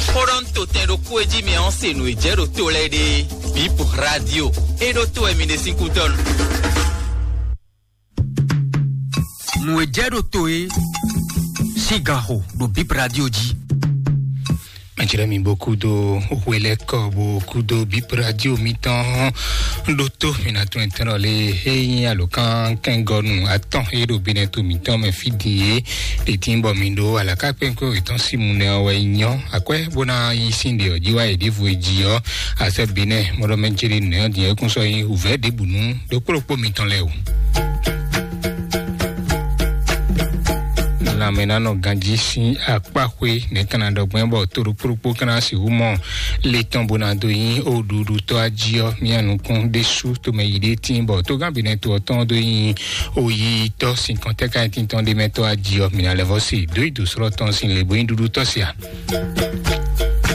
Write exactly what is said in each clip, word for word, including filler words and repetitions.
Kpɔ́ɖɔ́ tɛn ɖokpó e jí mi ɔ́ se nǔ e jɛ ɖo to lɛ́ɛ ɖe. Bip Radio. E ɖo to wɛ mi ɖe sín kútɔ́ nu. Nǔ e jɛ ɖo to e sín gan xo ɖo Bip Radio jí. Mɛjlɛ mi bo kúdo hwelɛkɔ bo kúdo Bip Radio mitɔn ɖó tó mi na tún ɛtɛn lé e nyí alǒkan kɛngɔnu atɔn e ɖo binɛ to mitɔn mɛ fí din e ɖe tín bɔ mi ɖó alaka kpɛnkpɛn wětɔn sí mu nɛ ɔ́ wɛ nyɔ akwɛ bó ná yí sín ɖe ɔ́ jí wá yi ɖěvo e jí ɔ́ asɛ binɛ mɔɖɔ mɛ jeli nɛ ɔ́ din ɔ́ kún sɔ nyi wǔvɛ́ ɖěbǔ nú ɖokpó ɖokpó mitɔn lɛ́ɛ o. Lanmɛnánɔ ganjí sín akpáxwé nɛ̌ ka ná ɖɔ gbɛn bɔ to ɖokpó ɖokpó ka ná sixú mɔ le tɔn bó ná dó nyí oɖuɖutɔ́ ají ɔ́, mía nukún ɖésú tomɛ yi ɖé tín bɔ tógán binɛ to ɔ́ tɔn dó nyí oyiyitɔ́ sinkɔntɛ́ ka nyí tintɔn ɖé mɛ tɔ́ ají ɔ́, mǐ ná lɛ́ vɔ́ se dó yi dǒ slɔ́ tɔn sín le bó nyí ɖuɖutɔ́ se a?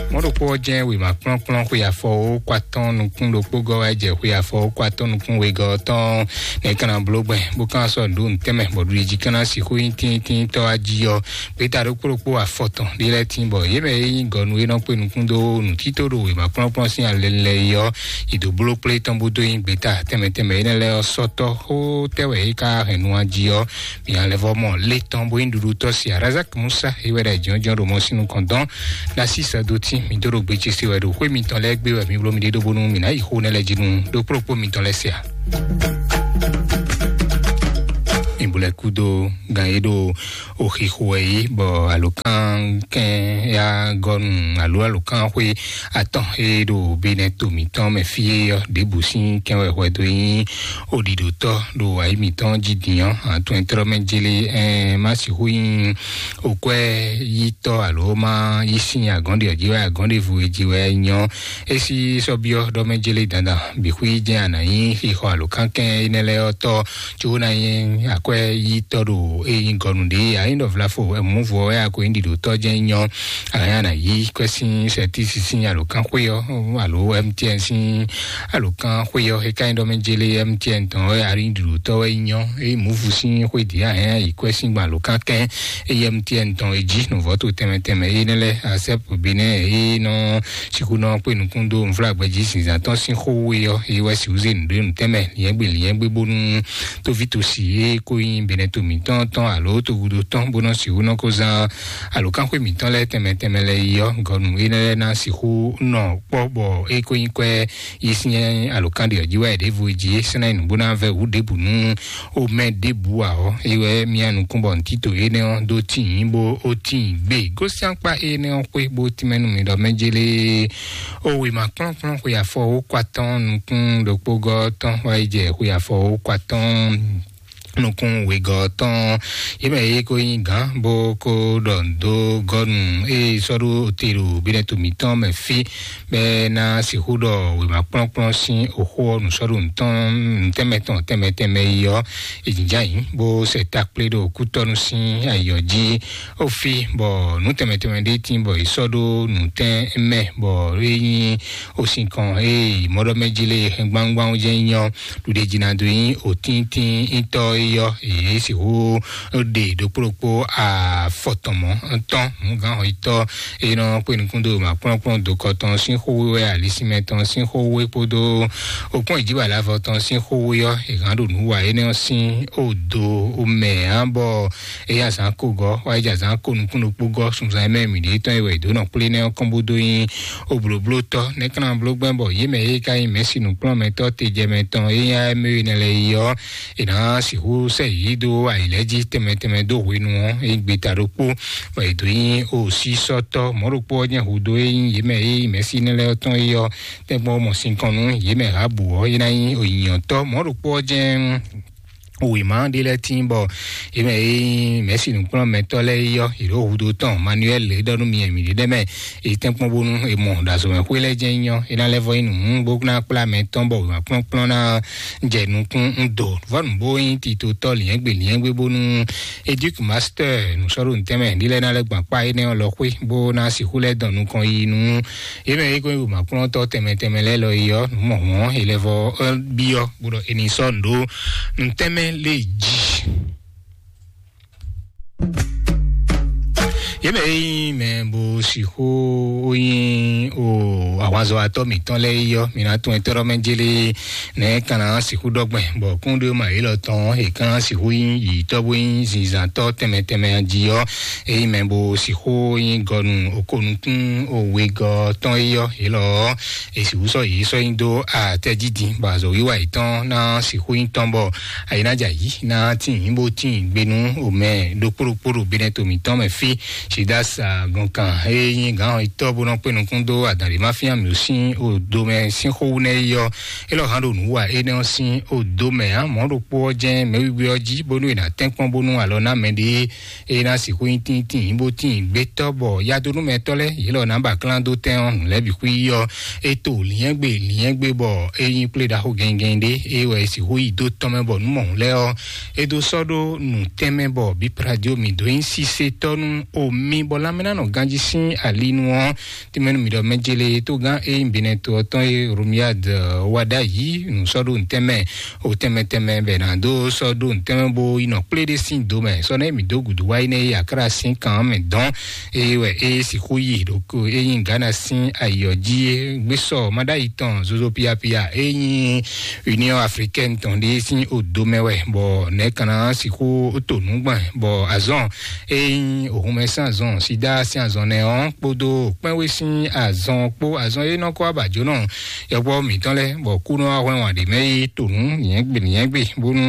Mɔ̌ ɖokpó ɔ́ jɛ́n wěma kplɔ́nkplɔ́n xwe afɔ ó kó atɔ́ɔ́n nukún ɖokpó gɔ́ wá jɛ xwe afɔ ó kó atɔ́ɔ́n nukún wegɔ́ ɔ́ tɔn. Nɛ̌ ka ná bló gbɛn bó ka ná sɔ́ nǔ ɖó nǔ tɛnmɛ bɔ ɖuɖijí ka ná sixú nyí tíntíntɔ́ wá jí ɔ́, gbeta ɖokpó ɖokpó afɔtɔn ɖé lɛ́ɛ tín bɔ yě mɛ e nyí gɔnu e nɔ kpé nukún dó nǔtító ɖo wěma kplɔ́nkplɔ́n sín alɛ lɛ́ɛ é ɔ́, yi dǒ bló kplé tɔn bó dó nyí gbeta tɛnmɛ tɛnmɛ énɛ́ lɛ́ɛ ɔ́ sɔ́tɔ́ xó tɛ́ wɛ é ka hɛn nu wá jí ɔ́, mǐ ná lɛ́ vɔ́ mɔ lé tɔn bó nyí ɖuɖutɔ́ se Razak Musa é wɛ ɖo ayǐjínjɔ́n ɖo mɔ sín nukɔn dɔn. Ɖo así sɛ́dó tín mǐ dó ɖo gbe ce se wɛ ɖo xwé mitɔn lɛ́ɛ gbé wɛ mǐ bló mì ɖe ɖó bónú mǐ ná yi xó nɛ́ lɛ́ɛ jí nú ɖokpó ɖokpó mitɔn lɛ́ɛ se ǎ. Mǐ bu lɛ́ kúdó gan e ɖo oxixo wɛ é bɔ alǒkankɛn ya gɔ́nu alo alǒkanxwé atɔn e ɖo Benɛto mǐtɔn mɛ fí é ɔ́, ɖěbǔ sín kɛn wɛ hwɛdo nyí oɖiɖotɔ́ ɖo ayǐ mǐtɔn jí din ɔ́, atɔn e tlɔ́ mɛ jélé ɛn má sixú nyí okwɛ́ yítɔ́ alo má yí sín agɔ̌n ɖe ɔ́ jí wɛ agɔ̌n ɖěvo e jí wɛ nyɔ́. É sí sɔ́ byɔ́ ɖɔ mɛ jélé dandan bǐ xwí jɛ́n a nǎ nyí xixɔ alǒkankɛn énɛ́ lɛ́ɛ ɔ́ tɔ́, có ná nyí akwɛ́ yítɔ́ ɖo é nyí gɔnu ɖě a nyí ɖɔ vlafo mǔvɔ wɛ a ko nyí ɖiɖotɔ́ jɛ́n nyɔ́. A hɛn a nǎ yí kwɛ́ sín sɛtísi sín alǒkanxwé ɔ́ alo M T N sín alǒkanxwé ɔ́ é ka nyí ɖɔ mɛ jélé M T N tɔn wɛ a nyí ɖiɖotɔ́ wɛ nyɔ́. É nyí mǔvu sín xwé dě a hɛn a yí kwɛ́ sín gbɔn alǒkankɛn é nyí M T N tɔn é jí nǔvɔ́ to tɛnmɛ tɛnmɛ énɛ́ lɛ́ɛ asɛ́p Benɛ́ɛ é nɔ sixú nɔ kpé nukún dó nvlágbɛjí zǐnzán tɔn sín xó we ɔ́, é wɛ sixú zé nǔɖé nǔtɛnmɛ liɛ́ngbé liɛ́ngbé bónú tóvítosi e ko nyí Benɛto mǐtɔn tɔn alo togudo tɔn bó nɔ sixú nɔ ko zán alǒkanxwé mǐtɔn lɛ́ɛ tɛnmɛ tɛnmɛ lɛ́ɛ yi ɔ́, gɔnu énɛ́ lɛ́ɛ ná sixú nɔ kpɔ́ bɔ é ko nyí kwɛ́ yi sín alǒkan ɖe ɔ́ jí wɛ ɖěvo jí é sɛ́n ná nyi nǔ bó ná vɛ́ wǔ ɖěbǔ nú o mɛ ɖěbǔ ǎ ɔ́, é wɛ mía nukún bɔ nǔtítò énɛ́ ɔ́ dó tíin bó ó tíin gbé. Gosín akpá énɛ́ ɔ́ xwé bó tínmɛ nú mi ɖɔ mɛ jélé. O wěma kplɔ́nkplɔ́n xwe afɔ wó kó atɔ́ɔ́n nukún ɖokpó gɔ́ tɔn wá yi jɛ xwe afɔ wó kó atɔ́ɔ́n nukún wegɔ́ tɔn. Yě mɛ yě ko nyí gǎn bó ko ɖɔ dó gɔ́nu ée sɔ́ ɖó te ɖo Benɛto mǐtɔn mɛ fí bɛ́ ná sixú ɖɔ wěma kplɔ́nkplɔ́n sín oxó ɔ́ nǔsɔ́ɖo nǔtɔn nǔtɛnmɛ tɔn tɛnmɛ tɛnmɛ yi ɔ́, è jǐjá yǐ bó sɛ takplé ɖo kútɔ́nú sín ayǐ ɔ́ jí. Ó fí bɔ nǔ tɛnmɛ tɛnmɛ ɖé tíin bɔ è sɔ́ ɖó nǔtɛn mɛ bɔ é nyí osinkɔn e mɔɖɔmɛjí lé hɛn gbangban jɛ́n nyɔ ɖuɖeji ná dó nyí òtíntíntɔ́ é yɔ èyí sixú ɖe ɖokpó ɖokpó afɔtɔn mɔ̌ tɔn nǔgánhɔyítɔ́ e nɔ kpé nukún dó ma kplɔ́nkplɔ́n dó kɔ tɔn sín xówé wɛ alisínmɛ tɔn sín xówé kpódó okpɔ́n ìjíbàlávɔ tɔn sín xówé ɔ́ è hán ɖo nǔ wa énɛ́ ɔ́ sín odo mɛ ǎ bɔ é yí azǎn ko gɔ́ wá yi jɛ azǎn ko nukún ɖokpó gɔ́ sunzan e mɛ mǐ ɖe tɔn e wɛ è dǒ nɔ kplé nɛ́ ɔ́ kɔn bó dó nyí oblǒblótɔ́ nɛ́ ka ná bló gbɛ́ bɔ yě mɛ e ka nyí mɛ̌si nǔkplɔ́nmɛtɔ́ tejɛmɛ tɔn e nyí A M E énɛ́ lɛ́ɛ é ɔ́, è nǎ sixú sɛ yě dó ayǐ lɛ́ɛ jí tɛnmɛ tɛnmɛ dó hwenu ɔ́ é gbeta ɖokpó bɔ è dǒ nyí osísɔ́tɔ́ mɔ̌ ɖokpó ɔ́ jɛ́n hudó e nyí yě mɛ e nyí mɛ̌si énɛ́ lɛ́ɛ tɔn é ɔ́, tɛ́nkpɔ́n mɔ sinkɔn nú yě mɛ Rahabu ɔ́ é ná nyí ònyìnyɔ́tɔ́ mɔ̌ ɖokpó ɔ́ jɛ́n wěma ɖé lɛ́ɛ tíin bɔ yě mɛ e nyí mɛ̌si nǔkplɔ́nmɛtɔ́ lɛ́ɛ é yɔ yě ɖo hudó tɔn Manuɛl é ɖɔ nú mi mǐ ɖé mɛ è tɛ́nkpɔ́n bónú è mɔ ɖo azɔ̌mɛxwé lɛ́ɛ jɛ́n nyɔ é ná lɛ́ vɔ nyí nǔ bó ná kplá mɛ tɔn bɔ wěma kplɔ́nkplɔ́n ná jɛ nukún ń do vɔ́ nǔ bó nyí titotɔ́ liɛ́ngbè liɛ́ngbé bónú Educ Master nǔsɔ́ɖo nǔtɛnmɛ ɖé lɛ́ɛ ná lɛ́ gbɔn akpá énɛ́ ɔ́ lɔ xwé bó ná sixú lɛ́ dɔn nukɔn yi nú yě mɛ e ko nyí wěmakplɔ́ntɔ́ tɛnmɛ tɛnmɛ lɛ́ɛ lɔ yi ɔ́, nǔ mɔ̌hun ɔ́, è lɛ vɔ byɔ́ bó ɖɔ è nǐ sɔ́ nǔ ɖó nǔ tɛnmɛ lě jí. Yě mɛ e nyí mɛ bó sixú ó nyí o ahwanzɔ́watɔ́ mǐtɔn lɛ́ɛ yi ɔ́, mǐ ná tún ɛtɔ́ ɖɔ mɛ jélé nɛ̌ kan ná sixú ɖɔgbɛn, bɔ kúnɖéwúma yě lɔ tɔn è kan ná sixú nyí yǐyítɔ́ bó nyí zinzǎntɔ́ tɛnmɛ tɛnmɛ jí ɔ́, é nyí mɛ bó sixú nyí gɔnu okónukún wegɔ́ tɔn é ɔ́, yě lɔ ɔ́, è sixú sɔ́ yě sɔ́ nyi dó atɛ́ jí din, bɔ azɔ̌ wiwa yětɔn ná sixú nyí tɔn, bɔ ayi ná jɛ ayǐ ná tín bó tín gbe nú omɛ ɖokpó ɖokpó ɖo Benɛto mǐtɔn mɛ fí. Sidas agɔnkan e nyí gǎn yětɔn bó nɔ kpé nukún dó adǎn ɖé ma fían mǐ sín odo mɛ sín xó wú nɛ́ yi ɔ́, é lɔ hán ɖo nǔ wa énɛ́ ɔ́ sín odo mɛ ǎ. Mɔ̌ ɖokpó ɔ́ jɛ́n mɛwígbé ɔ́ jí, bónú è nǎ tɛ́nkpɔ́n bónú alɔ ná mɛɖé e ná sixú nyí tíntín bó tín gbétɔ́, bɔ yadónúmɛtɔ́ lɛ́ɛ yě lɔ ná ba klán dó tɛn ɔ́, nǔ lɛ́ɛ bǐ xwí yi ɔ́, é to lǐnyɛ́gbe lǐnyɛ́gbe, bɔ é nyí kplé ɖaxó gɛngɛn ɖé, é wɛ è sixú yi dó tɔn mɛ, bɔ nǔ mɔ̌hun lɛ́ɛ ɔ́, é dó sɔ́ ɖó nǔ tɛnmɛ, bɔ bípradio mǐ dó nyí sisetɔ́ nú omi, bɔ lanmɛnánɔ ganjí sín ali nu ɔ́, tɛnmɛ nú mǐ ɖɔ mɛ jélé tógán é nyí Benɛto ɔ́ tɔn e Romiad wá ɖ'ayǐ nǔ sɔ́ ɖó nǔ tɛnmɛ o tɛnmɛ tɛnmɛ bɛ ná dó sɔ́ ɖó nǔ tɛnmɛ bó yi nɔ kplé ɖé sín do mɛ. Sɔ́ nɛ́ mǐ dó gǔdo wá yi nɛ́ yi akra sín kan mɛ dɔn, eye wɛ é sixú yi ɖo ko é nyí Ghana sín ayǐ ɔ́ jí é. Gbé sɔ maɖayi tɔn zozo piapia é nyí Union Africaine tɔn ɖé sín odo mɛ wɛ, bɔ nɛ̌ kan ná sixú to nǔgbɛn, bɔ azɔn é nyí òhunmɛ sín azɔn, sida sín azɔn nɛ ɔ́ kpódó kpɛ́nwé sín azɔn kpó, azɔn é nɔ kó abǎjó nɔ yɔkpɔ́ mǐtɔn lɛ́ɛ, bɔ kú nɔ wá hwlɛ́n wǎn ɖě mɛ yi to nǔ nyɛ̌gbe nyɛ̌gbe bónú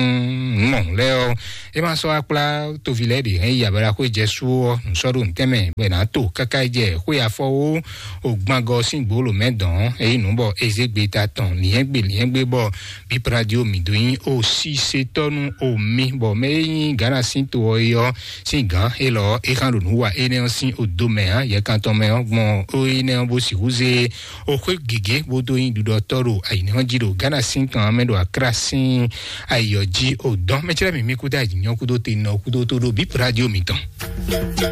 nǔ mɔ̌hun lɛ́ɛ ɔ́, é ma sɔ́ akplá toví lɛ́ɛ ɖě hɛn yi abalaxwé jɛ sú ɔ́, nǔ sɔ́ ɖo nǔtɛn mɛ bɔ è nǎ to káká yi jɛ xwé afɔwó ògbangɔ sín gbǒlǒ mɛ dɔn é yi nǔ bɔ é zé gbe ta tɔn nyɛ̌gbe nyɛ̌gbe, bɔ bípradio mǐ dó nyí o sísetɔ́ nú omi, bɔ mɛ e nyí Ghana sín to ɔ́ é ɔ́ sín gǎn élɔ́ é xán ɖo nǔ wa énɛ́ ɔ́ sín odo mɛ ǎ. Yɛkantɔn mɛ ɔ́ gbɔn ó énɛ́ ɔ́ bó sixú zé o xwé gěgé bó dó nyí ɖuɖɔtɔ́ ɖo ayǐnɛ́ ɔ́ jí ɖo Ghana sín kan ɔ́ mɛ ɖo Akra sín ayǐ ɔ́ jí o dɔn. Mɛ cɛ́lɛ́ mǐ mí kúdó ayǐnyɔ́ kúdó tenɔ kúdó tó ɖo bípradio mǐtɔn.